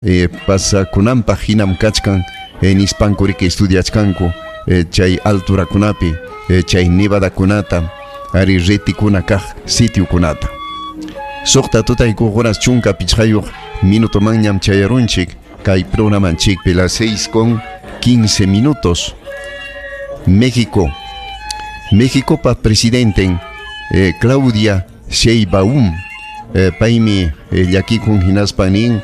Pasakunanpaq hinam kachkan nispanku riki estudiachkanku chay alturakunapi, chay nevadakunata, ari retikuna kaq sitiokunata. Suqta tutaykuq horas 15 minutomanñam chayarunchik kay programanchikpi, las 6:15. México. Méxicopa presidenten Claudia Sheinbaum, paymi llakikun hinaspa nin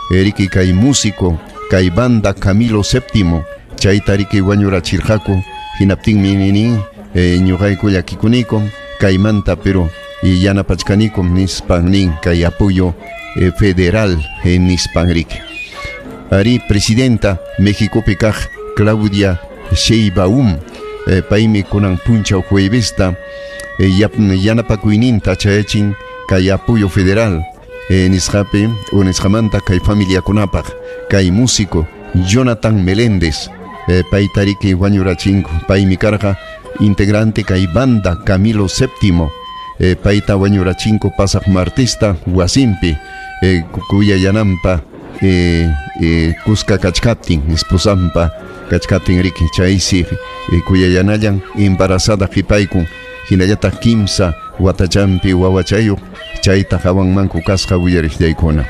riki kay músico kay banda Camilo VII chayta riki wañurachirqaku, hinaptinmi nin ñuqayku llakikunikum kaymanta, pero yanapachkanikum nispan nin kay apoyo federal nispan riki. Ari presidenta Mexicopi kaq Claudia Sheinbaum, paymi kunan punchaw juevesta yanapakuyninta chayachin kay apoyo federal nisqapi o nisqamanta kay familiakunapaq kay músico Jonathan Meléndez, payta riki wañurachinku, paymi karqa integrante kay banda Camilo VII, payta wañurachinku pasaq martista wasinpi, kuyayanampa kuska kachkaptin, esposampa kachkaptin riki chaysi kuyayanallan embarazada qipaykun, hinallataq kimsa watachampi wawachayuq chayta hawanmanku kasqa willariqllaykuna.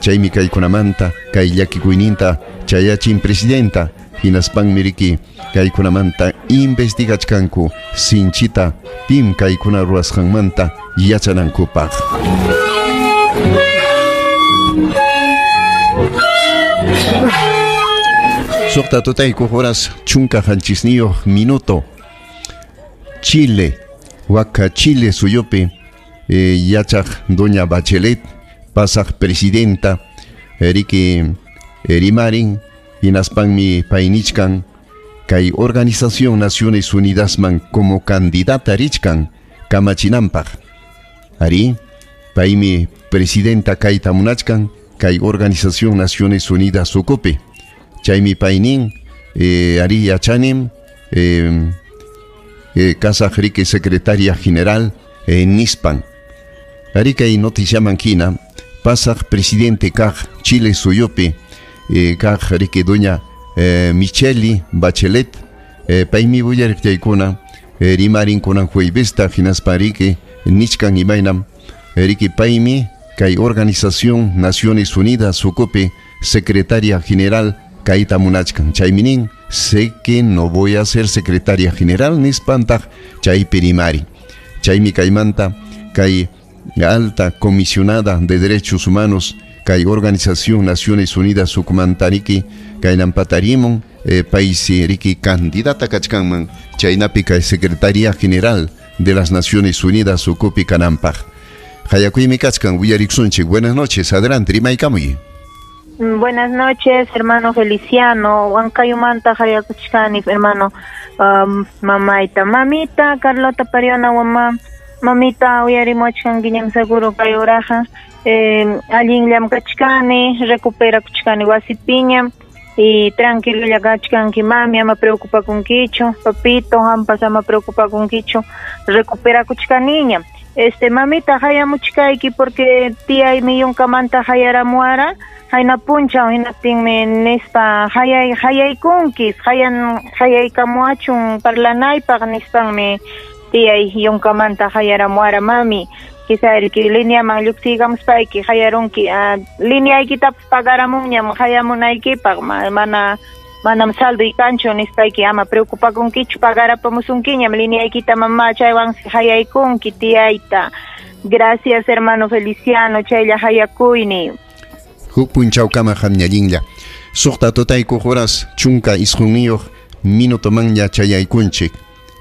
Chaymi kaykunamanta kay llakikuyninta chayachin presidenta, hinaspanmi riki kaykunamanta investigachkanku sinchita pim kaykuna ruwasqanmanta yachanankupaq. Suqta tutaykuq horas 17 minuto. Chile, Waka Chile suyupi yachaq doña Bachelet pasaq presidenta riki rimarin, hinaspanmi paynichkan kay Organización Naciones Unidasman como candidata richkan kamachinanpaq. Ari paymi presidenta kayta munachkan kay Organización Naciones Unidas ukupi. Chaymi paynin ari yachanim kasaq riki secretaria general nispan. Ari kay noticiaman hina pasaq presidente kaq Chile suyupi kaq riki doña Michelle Bachelet, paymi willariqllaykuna rimarin kunan juevesta, hinaspa riki nichkan imaynam riki paymi kay Organización Naciones Unidas ukupi secretaria general kayta munachkan. Chaymi nin, sé que no voy a ser secretaria general nispantaq chaypi rimari. Chaymi kaymanta kay alta comisionada de derechos humanos kay Organización Naciones Unidas ukumanta riki kaynampatarimun, paysi riki candidata kachkanman chaynapi kay secretaria general de las Naciones Unidas ukupi kananpaq. Hayakuymi kachkan, willariksunchik. Buenas noches, adelante, rimaykamuy. Buenas noches, hermano Feliciano. Huancayumanta hayakuchkani, hermano, mamayta. Mamita, Carlota Pariona, mamá. Mamita, uyarimuachkankiñam seguro kay uraqa. Allinllam kachkani, recuperakuchkani wasipiñam. Y tranquilolla kachkanki, mami, ama preocupakunkichu. Papito, hampas ama preocupakunkichu. Recuperakuchkaniñam. Mamita, hayamuchkayki porque tiyaymi yunkamanta hayaramuara. Hayna punchaw hinaptinmi nispa hayay hayaykunkis hayan hayaykamuachun parlanaypaq nispanmi tiyay yunkamanta hayaramuara, mami. Quizá riki lineaman lluqsiykamuspayki hayarunki, lineaykitapas pagaramunñam hayamunaykipaq, mana manam saldoy kanchu nispayki ama preocupakunkichu, pagarapamusunkiñam lineaykita, mamá, chaywansi hayaykunki tiyayta. Gracias, hermano Feliciano, chaylla hayakuyni. Huk punchawkama hamñallinlla. Suqta tutaykuq horas 19 minutomanña chayaykunchik.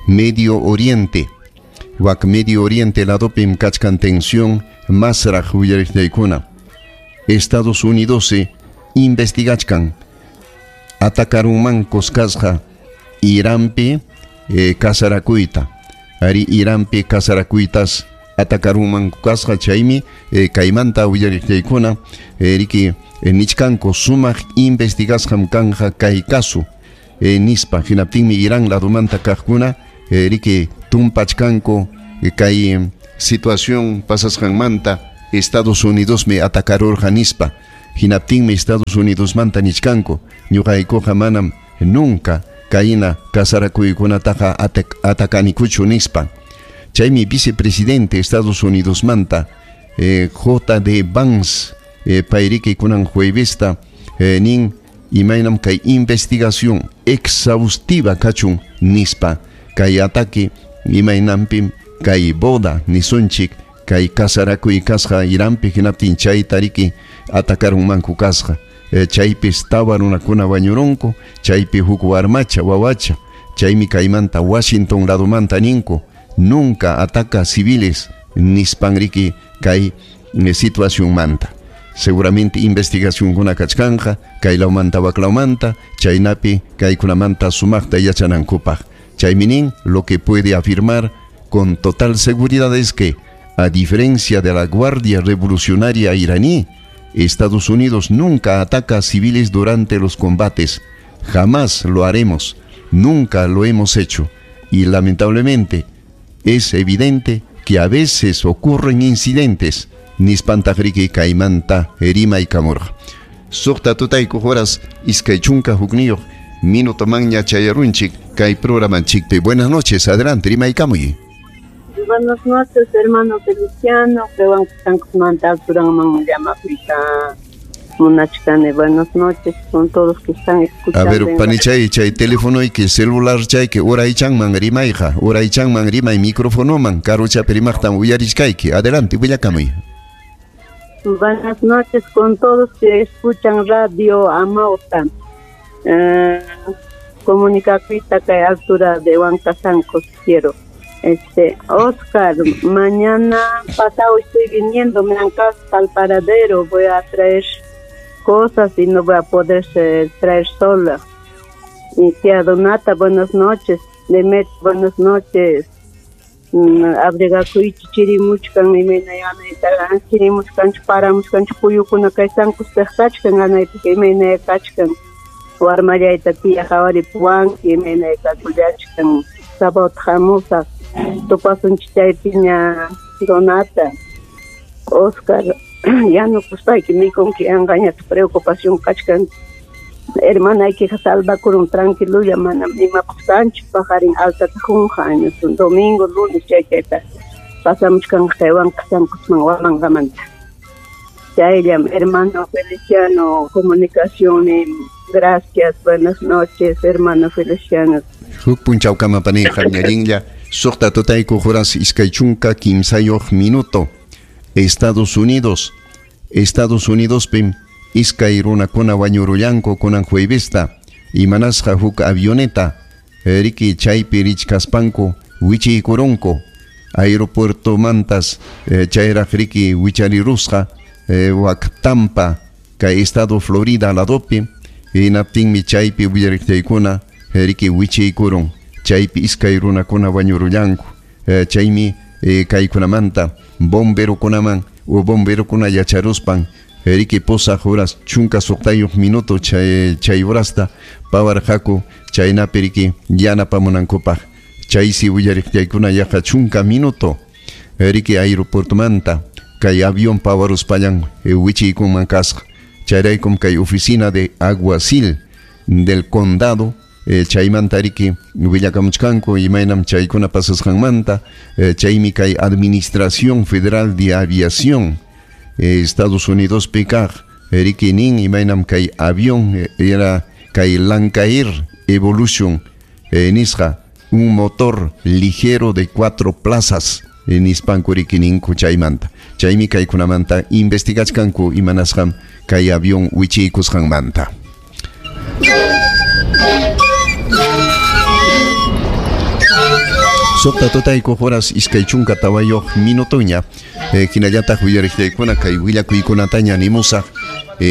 Medio Oriente. Wak Medio Oriente ladopim kachkan tensión masraq willariqllaykuna. Estados Unidos se investigachkan atakarunmankus kasqa Iranpi kasarakuyta. Ari Iranpi kasarakuytas atakarunmanku kasqa, chaymi kaymanta willariqllaykuna riki nichkanku sumaq investigasqam kanja kay caso nispa. Hinaptinmi Irán ladumanta kaqkuna riki tumpachkanku kay situación pasasqanmanta Estados Unidos me atakarurqa nispa. Hinaptinmi Estados Unidos manta nichkanku ñuqaykuqa manam nunca kayna kasarakuykunataqa atakanikuchu nispa. Chaymi vicepresidente Estados Unidos manta J.D. Vance payriki kunan juevesta nin imaynam kay investigación exhaustiva kachun nispa kay ataque imaynampim kay boda nisunchik kay kasarakuy kasqa Iranpi hinaptin chayta riki atakarunmanku kasqa chaypis tawa runakuna wañurunku chaypi huk warmacha wawacha chaymi kaymanta Washington ladomanta ninku nunca ataca civiles nispan riki kay situación manta. Seguramente investigacionkuna kachkanja kay lawmanta waklawmanta chaynapi kaykunamanta sumaqta yachanankupaq. Chaymi nin lo que puede afirmar con total seguridad es que, a diferencia de la Guardia Revolucionaria iraní, Estados Unidos nunca ataca a civiles durante los combates. Jamás lo haremos, nunca lo hemos hecho. Y lamentablemente es evidente que a veces ocurren incidentes. Nispantajriki kaymanta rimaykamurqa. Suqta tutayku horas iskay chunka hukniyuq minuto manña chayarunchik kay programanchikpi. Buenas noches, adelante, rimaykamuy. Buenas noches, hermano Feliciano. Buenas noches con todos que están escuchando. A ver, panichay, chay teléfono y que celular chay que uraychanman rimayqa, uraychanman rimay micrófono man, karuchapi rimaqtan uyarichkayki. Adelante, willakamuy. Buenas noches con todos que escuchan Radio Amauta. Comunicacita que altura de Huancasancos quiero. Oscar, mañana pasado estoy viniendo, me han hasta al paradero, voy a traer cosas y no voy a poder traer sola. Mi tía Donata, buenas noches. Demet, buenas noches. Abrigakuy chirimuchkan imaynayana chirimuchkan paramuchkan puyukuna kay Sankuspaq kachkan anaypi imaynaya kachkan warmallayta tía hawaripuwanki imaynaya kakullachkan sábado hamusaq tupasunchik chaypiña Donata. Oscar, ya no kuspayki mikunki anqañata preocupación kachkan hermanaykiqa salvakurun tranquilulla manam imapas kanchu paqarin altata junqa añusun domingo lunes chay chayta pasamuchkanqa kay Huancasancosman Huamangamanta. Chayllam hermano Feliciano, comunicación, gracias, buenas noches, hermano Feliciano. Huk punchawkama paniqa ñallinlla suqta tutayku horas iskay chunka kimsayuq minuto. Estados Unidos, Estados Unidos pim iskay runakuna wañurullanku kunan juevesta imanasqa huk avioneta riki chaypi richkaspanku wichiykurunku aeropuerto mantas chayraq riki wicharirusqa wak Tampa kay estado Florida ladopi hinaptinmi chaypi willariqtaykuna riki wichiykurun chaypi iskay runakuna wañurullanku chaymi kaykunamanta bomberokunaman o bomberokuna yacharuspan riki pusaq horas chunka suqtayuq minuto chay horasta pawarqaku chaynapi riki yanapamunankupaq chaysi willariqtaykuna yaqa chunka minuto riki aeropuertomanta kay avión pawaruspallan wichiykunman kasqa chayraykum kay oficina de aguacil del condado chaymanta riki willakamuchkanku imaynam chaykuna pasasqanmanta chaymi kay Administración Federal de Aviación Estados Unidos kaq riki nin imaynam kay avión era kay Lancair Evolution nisqa un motor ligero de 4 plazas nispanku riki ninku chaymanta chaymi kaykunamanta investigachkanku imanasqam kay avión wichiykusqanmanta. Suqta tutayku horas iskay chunka tawayuq minutoña hinallataq willariqtaykuna kay willakuykunataña nimusaq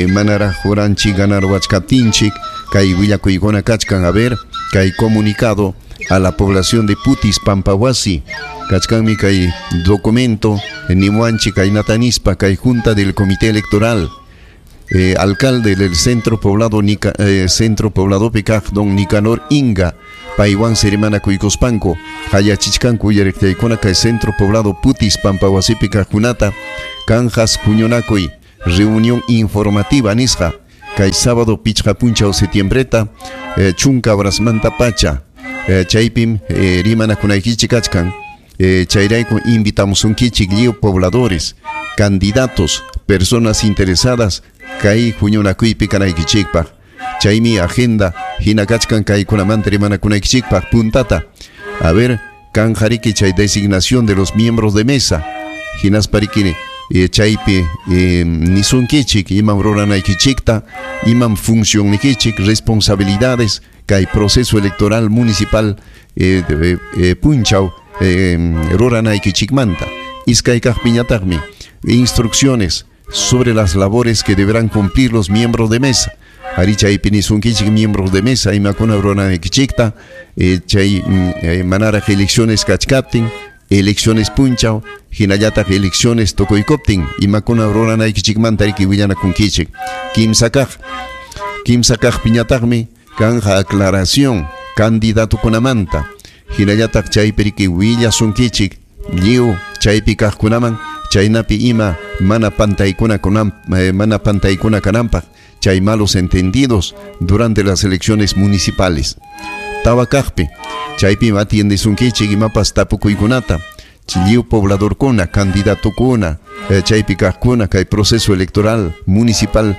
manaraq horanchik ganarwachkaptinchik kay willakuykuna kachkan. A ver, kay comunicado a la población de Putis Pampawasi kachkanmi kay documento nimuanchik kaynata nispa kay junta del comité electoral alcalde del centro poblado centro poblado kaq don Nicanor Inga paywan rimanakuykuspanku hayachichkanku uyariqtaykuna kay centro poblado Putis Pampawasipi kaqkunata kanjas huñunakuy Reunión informativa nisqa kay sábado pichqa punchaw septiembreta chunka horasmanta pacha chaypim rimanakunaykichik kachkan. Chayrayku invitamusunkichik lliw pobladores, candidatos, personas interesadas kay huñunakuypi kanaykichikpaq. Chaymi agenda hina kachkan kaykunamanta rimanakunaykichikpaq puntata. A ver, kanjariki chay designación de los miembros de mesa. Hinaspariki chaypi nisunkichik imam ruranaykichikta, imam funcionnikichik, responsabilidades kay proceso electoral municipal punchaw ruranaykichikmanta. Iskay kaqpiñataqmi instrucciones sobre las labores que deberán cumplir los miembros de mesa. Ari chaypi nisunkichik miembros de mesa imakuna ruranaykichikta, chay manaraq elecciones kachkaptin, elecciones punchaw, hinallataq elecciones tukuykuptin, imakuna ruranaykichikmanta riki willanakunkichik. Kimsa kaqpiñataqmi kanja aclaración candidatukunamanta, hinallataq chaypi riki willasunkichik lliw chaypi kaqkunaman, chaynapi ima mana pantaykuna mana pantaykuna kananpaq, chay malos entendidos durante las elecciones municipales. Tawa kaqpi chaypi atiendesunkichik imapas tapukuykunata, lliw pobladorkuna, candidatukuna, chaypi kaqkuna kay proceso electoral municipal.